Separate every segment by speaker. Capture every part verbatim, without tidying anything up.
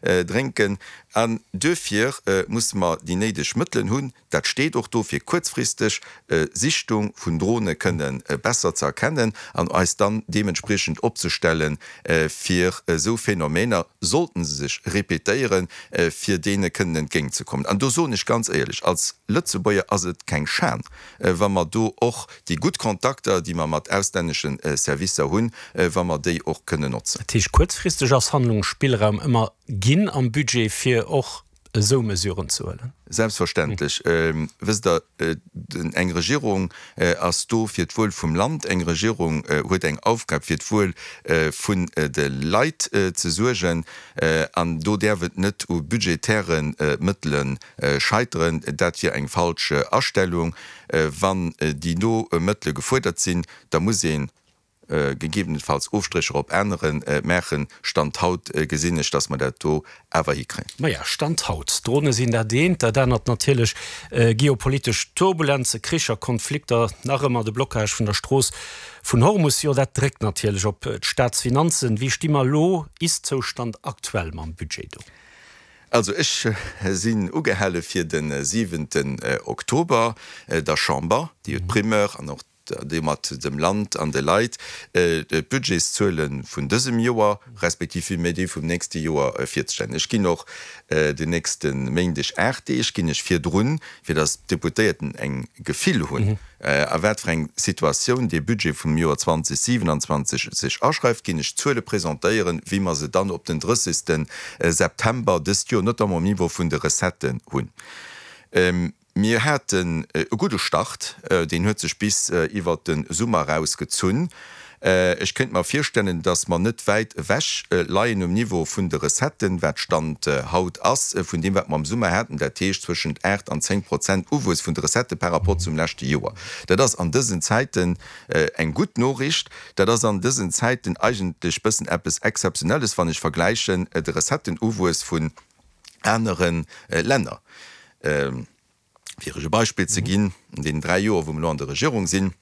Speaker 1: Drénken. An duerfir musse mer déi néideg Mëttelen hunn, dat steet och do, fir kuerzfristeg Sichtung vun Drone kënne besser ze erkennen an eis dann deementspriechend opzestellen, fir esou Phänomener, sollten se sech répétéieren, fir deene kënnen entgéintzekommen. An do soen ech ganz éierlech, als Lëtzebuerger ass et keng Schan, wa mer do och déi gutt Kontakter, déi mer mat auslännesche Servicer hunn, wa mer déi och kënnen notzen.
Speaker 2: Dat heescht, kuerzfristeg ass Handlungsspillraum ëmmer ginn am Budget, fir och esou Mesuren ze huelen?
Speaker 1: Selbstverständlech. Wësst Der, eng Regierung ass do fir d'Wuel vum Land. Eng Regierung huet eng Aufgab, fir d'Wuel vun de Leit ze suergen. An do däerf et net u budgetäre Mëttele scheiteren. Dat wier eng falsch Astellung. Wann déi no Mëttele gefuerdert sinn, da muss ee gegebenenfalls Ofstrécher op anere maachen. Stand haut gesinn ech, datt mer dat do awer hikréien.
Speaker 2: Maja, Stand haut. D'Drone sinn dat eent, dat anert natierlech geopolitesch Turbulenze, Kricher, Konflikter, nach ëmmer de Blocage vun der Strooss vun Hormus. Jo, dat dréckt natierlech op d'Staatsfinanzen. Wéi sti mer elo, Ist-Zoustand aktuell, mam Budget do?
Speaker 1: Also ech sinn ugehale fir de siwenten Oktober der Chamber, déi huet d'Primeur an och domat dem Land an de Leit, d'Budgetszuele vun dësem Joer, respektiv villméi déi vum nächste Joer virzestellen. Ech ginn och den nächste Méindeg, aacht Deeg ginn ech virdrun, fir datt d'Deputéierten eng Gefill hunn, a wat fir eng Situatioun dee Budget vum Joer zwanzeg siewenundzwanzeg sech aschreift, ginn ech d'Zuele presentéieren, wéi mer se dann op den drëssigste September dëst Joer, notamment um Niveau vun de Recetten, hunn. Mir haten e gudde Start, deen huet sech bis iwwert de Summer eraus gezunn. Ech kéint mer virstellen, datt mer net wäit ewech leien um Niveau vun de Recetten, wat Stand haut ass, vun deem wat mer am Summer haten, dat heescht zwëschent aacht an zéng Prozent Uwuess vun de Recettë par rapport zum leschte Joer. Dat ass an dësen Zäiten eng gutt Noriicht. Dat ass an dësen Zäiten eigentlech bëssen eppes Exzeptionelles, wann ech vergläichen de Recettenuwuess vun anere Länner. Fir Iech e Beispill ze ginn, An deenen dräi Joer, wou mer elo an der Regierung sinn,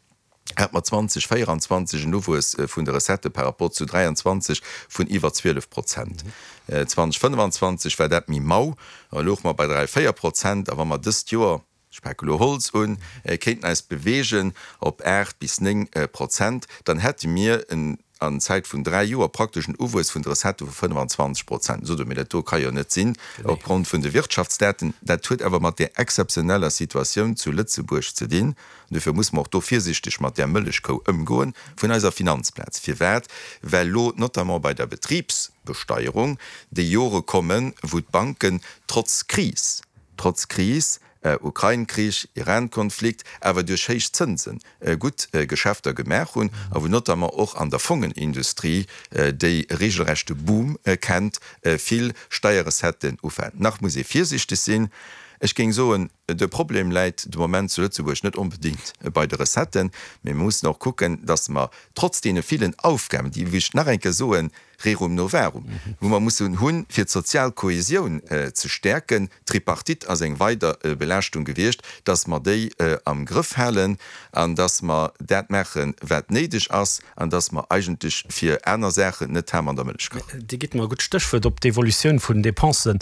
Speaker 1: hate mer zweitausendvéieranzwanzeg en Uwuess vun de Recettë par rapport zu dräianzwanzeg vun iwwer zwielef Prozent. zweitausendfënnefanzwanzeg war dat méi mau, da louche mer bei dräi, véier Prozent. A wa mer dëst Joer, ech pake elo Holz un, kéinten eis beweegen op aacht bis néng Prozent, dann hätte mir en an Zäit vun dräi Joer praktesch en Uwuess vun de Recettë vu fënnefanzwanzeg Prozent. Sot Der, mee dat do ka jo net sinn opgrond vun de Wirtschaftsdaten. Dat huet awer mat där exzeptioneller Situatioun zu Lëtzebuerg ze dinn. An dofir muss mer och do virsichteg mat där Mëllechkou ëmgoen vun eiser Finanzplaz. Firwat? Well elo notamment bei der Betribsbesteierung déi Jore kommen, wou d'Banken trotz Kris, trotz Kris, Ukrain-Krich, Iran-Konflikt, awer duerch héich Zënse gutt Geschäfter gemaach hunn a wou notamment och an der Fongenindustrie, déi e regelrechte Boom kennt, vill Steierrecetten ufalen. Nach muss ee virsichteg sinn. Ech géing soen, de Problem läit de Moment zu Lëtzebuerg net onbedéngt bei de Recetten, mee mir mussen och kucken, datt mer trotz deene villen Aufgaben, déi, wéi ech nach eng Kéier soen, Rerum novarum, wou mer mussen hunn, fir d'sozial Kohesioun ze stäerken, d'Tripartite ass eng weider Belaaschtung gewiescht, dass mer déi am Grëff halen an dass mer dat maachen, wat néideg ass, an dass mer eigentlech fir aner Saachen net d'Ham an der Mëllech kachen.
Speaker 2: Dir gitt mer e gutt Stéchwuert. Op d'Evolutioun vun den Dépensen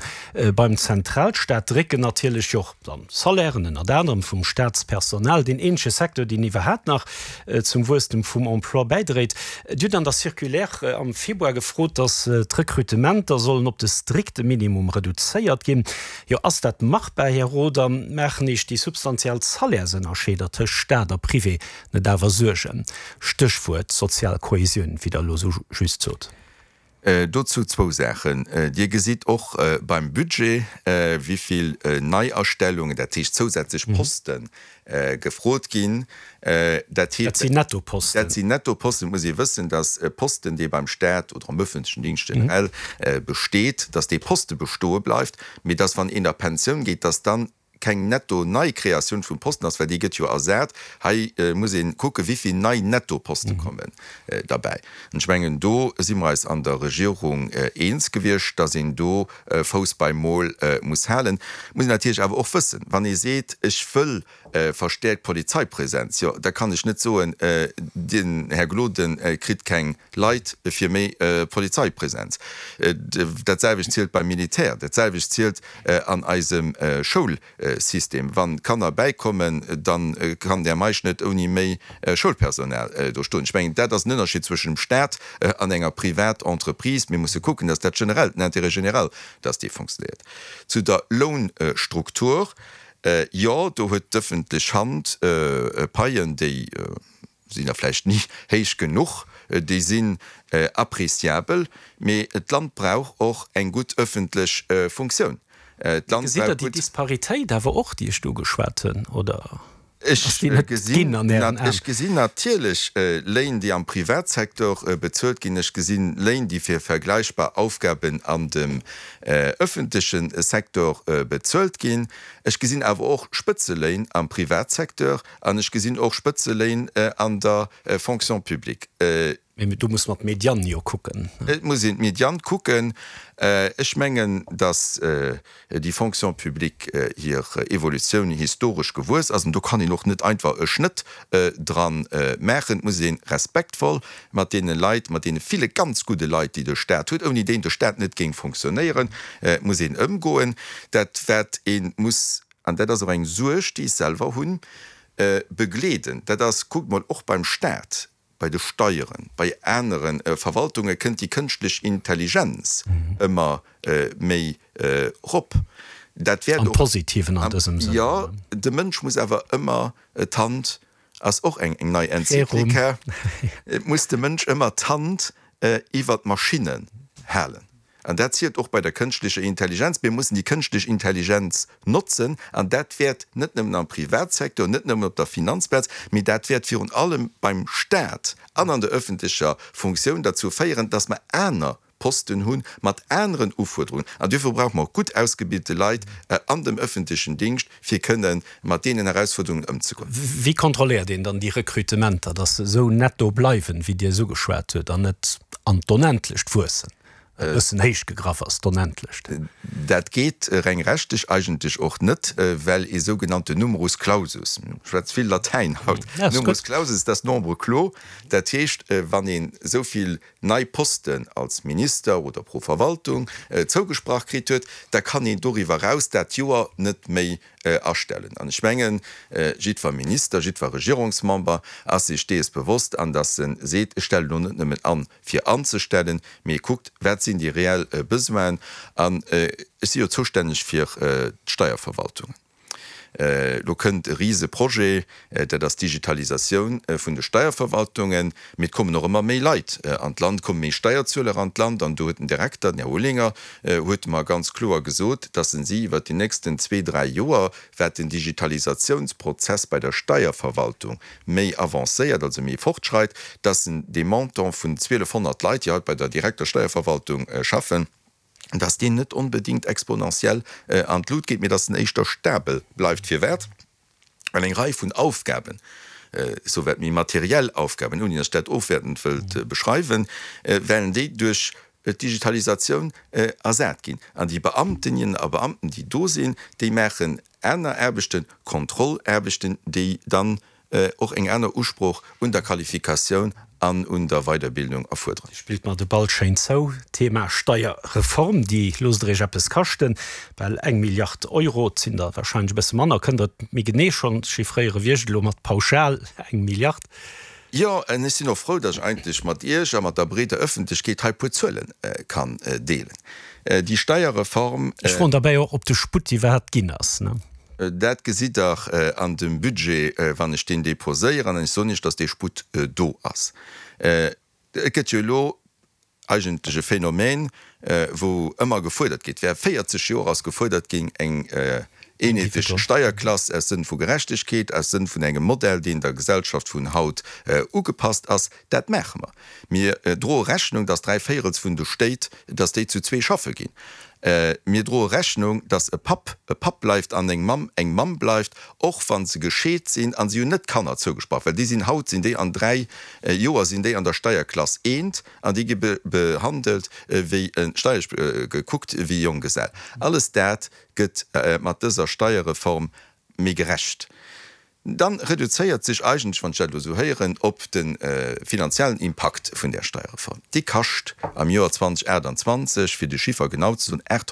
Speaker 2: beim Zentralstaat drécken natierlech jo och dann d'Salairen, ënnert anerem vum Staatspersonal, deen eenzege Secteur, deen iwwerhaapt nach zum Wuesstem vum Emploi bäidréit. Dir hutt an der Circulaire am Februar gefrot, datt d'Rekrutementer sollen op de strikte Minimum reduzéiert ginn. Jo, ass dat machbar, Här Roth, a maachen Iech déi substantiell Salaires-Ënnerscheeder tëscht Staat a Privé net awer Suergen? Stéchwuert sozial Kohesioun, wéi Der elo esou just sot.
Speaker 1: Dozou zwou Saachen. Dir gesitt och beim Budget, wéi vill Neiastellungen, dat heescht zousätzlech Posten, gefrot ginn. Dat
Speaker 2: heescht, dat sinn Nettoposten.
Speaker 1: Dat sinn Nettoposten. Et muss ee wëssen, dass e Posten, dee beim Staat oder am öffentlechen Dingscht generell besteet, dass dee Poste bestoe bleift, mee dass, wann een a Pensioun geet, dass dann keng netto Neikreatioun vun Posten ass, well déi gëtt jo ersat. Hei muss ee kucke wéi vill nei Nettoposte kommen derbäi. An ech mengen, do si mer eis an der Regierung eens gewiescht, datt een do Fouss beim Mol muss halen. Et muss een natierlech awer och wëssen, wann ee seet, ech wëll verstäerkt Polizeipräsenz, jo da kann ech net soen, den Här Gloden kritt keng Leit fir méi Polizeipräsenz. Dat selwecht zielt beim Militär, dat selwecht zielt an eisem Schoulsystem. Wann Kanner bäikommen, da kann den Här Meisch net ouni méi Schoulpersonal do stoen. Ech mengen, dat ass den Ënnerscheed zwëschen dem Staat an enger Privatentreprise. Mir musse kucken, dass dat generell, den Intérêt général, dass dee fonctionnéiert. Zu der Lounstruktur, Jo, do huet d'ëffentlech Hand Paien, déi sinn der vläicht ni héich genuch, déi sinn appréciabel, mee d'Land brauch och eng gutt ëffentlech Funktioun.
Speaker 2: D'Land Gesitt Der déi Disparitéit awer och, déi ech do ugeschwat hunn, oder
Speaker 1: Ech
Speaker 2: ass déi net
Speaker 1: gesinn
Speaker 2: ginn an Ären Aen?
Speaker 1: Ech gesinn natierlech Léin, déi am Privatsecteur bezuelt ginn. Ech gesinn Léin, déi fir vergläichbar Aufgaben an dem ëffentleche Secteur bezuelt ginn. Ech gesinn awer och Spëtzeléin am Privatsecteur an ech gesinn och Spëtzeléin an der Fonction publique.
Speaker 2: Mee do muss mer d'Mediane jo kucken.
Speaker 1: Et muss een d'Mediane kucken. Ech mengen, datt déi Fonction publique hir Evolutioun historesch gewuess ass. An do kann een och net einfach e Schnëtt dra maachen. Et muss ee respektvoll mat deene Leit, mat deene ville ganz gudde Leit, déi de Stat huet, ouni déi de Stat net géing fonctionnéieren, muss een ëmgoen. Dat wat ee muss, an dat ass och eng Suerg, déi ech selwer hunn, begleeden, dat ass, kuckt mol och beim Stat, bei de Steieren, bei anere Verwaltunge kënnt déi kënschtlech Intelligenz ëmmer méi erop. Dat wäert
Speaker 2: Am
Speaker 1: och.
Speaker 2: Positiven an dësem Sënn.
Speaker 1: Jo, de Mënsch muss awer ëmmer d'Hand, ass och eng nei Enzyklika, et muss de Mënsch ëmmer d'Hand iwwer d'Maschinnen halen. An dat zielt och bei der kënschtlecher Intelligenz. Mir mussen déi kënschtlech Intelligenz notzen. An dat wäert net nëmmen am Privatsecteur, net nëmmen op der Finanzplaz, mee dat wäert virun allem beim Stat an an der öffentlecher Funktioun derzou féieren, dass mer aner Posten hu mat aneren Ufuerderungen. An duerfir brauche mer och gutt ausgebilte Leit an dem öffentlechen Dingscht, fir kënne mat deenen Erausfuerderungen ëmzegoen.
Speaker 2: Wéi kontrolléiert een dann déi Rekrutementer, dass se esou netto bleiwen, wéi Dir es ugeschwat hutt, an net an d'Onendlecht wuessen? E bëssen héich gegraff ass, d'Onendlecht.
Speaker 1: Dat geet reng rechtlech eigentlech och net, well ee sougenannten Numerus clausus, ech schwätz vill Latäin haut, Numerus clausus, dat ass nombre clos, dat heescht, wann een esou vill nei Posten als Minister oder pro Verwaltung zougesprach kritt huet, da kann een doriwwer eraus dat Joer net méi astellen. An ech mengen, jiddwer Minister, jiddwer Regierungsmember ass sech dees bewosst, an datt e seet, ech stellen elo net nëmmen an, fir anzestellen, mee e kuckt, wat sinn déi reell Besoinen. An ech si jo zoustänneg fir d'Steierverwaltungen. Elo kënnt e rise Projet, dat ass d'Digitalisatioun vun de Steierverwaltungen. Mee et kommen och ëmmer méi Leit an d'Land, et komme méi Steierzueler an d'Land. An do huet den Direkter, den Här Olinger, huet mer ganz kloer gesot, dass en si iwwert déi nächsten zwee, dräi Joer, wat den Digitalisatiounsprozess bei der Steierverwaltung méi avancéiert, also méi fortschreit, dass en dee Montant vun zwielefhonnert Leit, déi haut bei der direkter Steierverwaltung schaffen, dass deen net onbedéngt exponentiell an d'Lut geet, mee dass en éischter stabel bleift. Firwat? Well eng Rei vun Aufgaben, souwäit méi materiell Aufgaben, ouni dass ech dat ofwäertend wëllt beschreiwen, well déi duerch d'Digitalisatioun ersat ginn. An déi Beamtinnen a Beamten, déi do sinn, déi maachen aner Aarbechten, Kontrollaarbechten, déi dann och eng aner Usprooch un der Qualifikatioun an un der Weiderbildung erfuerderen.
Speaker 2: Dir spillt mer de Ball schéin zou. Thema Steierreform, déi loosst Der Iech eppes kaschten, bal eng Milliard Euro, et sinn der wahrscheinlech e bësse manner. Kënnt Der et méi genee schonn chiffréieren, wéi ech et elo mat pauschal eng Milliard?
Speaker 1: Jo, an ech sinn och frou, datt ech eigentlech mat Iech a mat der breeder Ëffentlechkeet hei e puer Zuele kann deelen. Déi Steierreform.
Speaker 2: Ech froen derbäi och, ob de Sputt iwwerhaapt ginn ass.
Speaker 1: Dat gesitt Der an dem Budget, wann ech deen déposéieren. An ech soen Iech, datt dee Sputt do ass. Et gëtt jo elo eigentlech e Phänomen, wou ëmmer gefuerdert gétt, wär véierzeg Joer ass gefuerdert ginn, eng eenheetlech Steierklass aus Sënn vu Gerechtegkeet, aus Sënn vun engem Modell, deen der Gesellschaft vun haut ugepasst ass. Dat maache mer. Mir droe Rechnung, dass dräi Véirels vun de Stéit, dass déi zu zwee schaffe ginn. Mir droe Rechnung, dass e Papp e Papp bleift an eng Mamm eng Mamm bleift, och wa se gescheet sinn a si hunn net Kanner zougesprach, well déi sinn haut sinn déi an dräi Joer sinn déi an der Steierklass eent an déi gi behandelt wéi steierlech gekuckt wéi Jonggesell. Alles dat gëtt mat dëser Steierreform méi gerecht. Dann reduzéiert sech eigentlech, wann ech dat elo esou héieren, op de finanziellen Impakt vun där Steierreform. Déi kascht am Joer zweitausenachtundzwanzig, fir de Chiffer genau ze soen, achthonnert